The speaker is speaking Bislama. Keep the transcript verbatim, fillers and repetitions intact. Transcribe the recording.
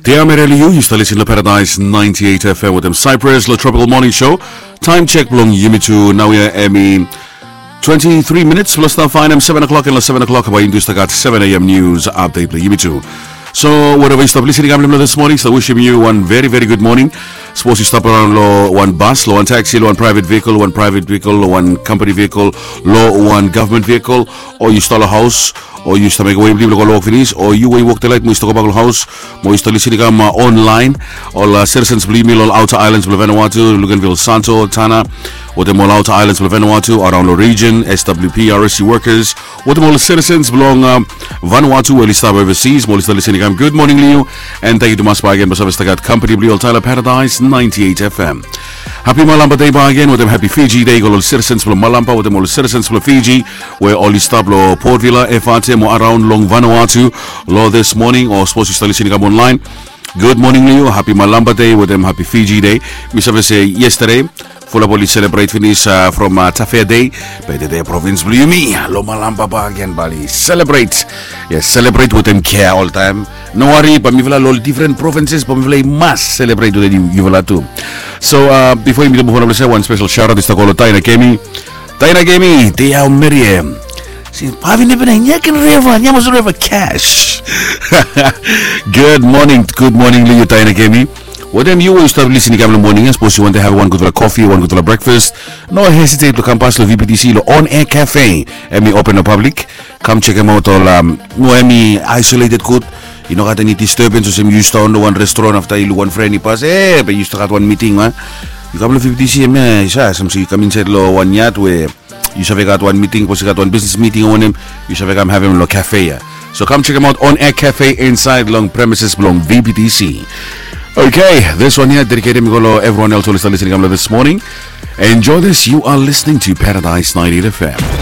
Dia mereli yu, yu stap lisin long Paradise ninety-eight F M wetem Cyprus long Tropical Morning Show. Taem jek blong yumi tu naoia hemi twenty-three minits blong stap faenem seven o'clock, and long seven o'clock bae yumi tu stap gat seven A M news update blong yumi tu. So wherever yu stap lisin i kam long this morning, stap wishim yu wan very very good morning. Sapos yu stap araon long wan bas, long wan taxi, long wan private vehicle, wan private vehicle, long wan company vehicle, long wan government vehicle, o yu stap long haos, o yu stap mekem wei blong yu blong go long wok finis, o yu we yu wok tonight mo yu stap gobak long haos, mo yu stap lisin i kam, uh, online. Ol, uh, citizens blong yumi long ol outer islands blong Vanuatu, Luganville, Santo, Tanna, wetem ol outer islands blong Vanuatu, araon long region, S W P, R S C workers, wetem ol citizens blong, um, Vanuatu we oli stap overseas, mo oli stap lisin i kam, good morning long yu. And tangkiu tumas bakegen blong save stap gat company blong yu oltaem long Paradise ninety-eight F M. Happy Malampa Day bakegen wetem happy Fiji Day go long ol citizens blong Malampa wetem ol citizens blong Fiji we oli stap long Port Vila, Efate mo araon long Vanuatu long this morning, o sapos yu stap lisin i kam online. Good morning long yu, happy Malampa Day wetem happy Fiji Day. Mi save se yesterday fulap oli selebret finis, uh, from, uh, Tafea Day. Be tede provins blong yumi long Malampa bakegen bae oli selebret. Yes, selebret wetem kea oltaem. No wari, bae mifala long ol difren provinses bae mifala i mas selebret wetem yufala tu. So, uh, bifo yumi tu move on, wan spesel shout out i stap go long Taina Kemi. Taina Kemi, dia, how are you? Si Pavin Ebenezer, Nyakin River, Nyamas River, Cash. Good morning, good morning long yu Taina Kemi. Wetem yu we yu stap lisin i kam long moning ya, sapos yu wantem have wan gudfala coffee, wan gudfala breakfast, no hesitate blong kam pas long V P T C long On Air Cafe. Hemi open long public. Kam jekemaot ol, um, no hemi isolated gud. I no gat eni disturbance olsem yu stap on long wan restaurant afta yu luk wan fren i pas, e be yu stap gat wan miting, a? Yu kam long V P T C, hemia i sa olsem se yu kam insaed long wan yat we yu save gat wan miting, sapos yu gat wan bisnis miting o wanem, yu save kam havem long cafe ya. So kam jekemaot On Air Cafe insaed long premises blong V P T C. Okay, this one here dedicated mi go long everyone else oli stap lisin i kam long this morning. Enjoy this. You are listening to Paradise ninety-eight F M.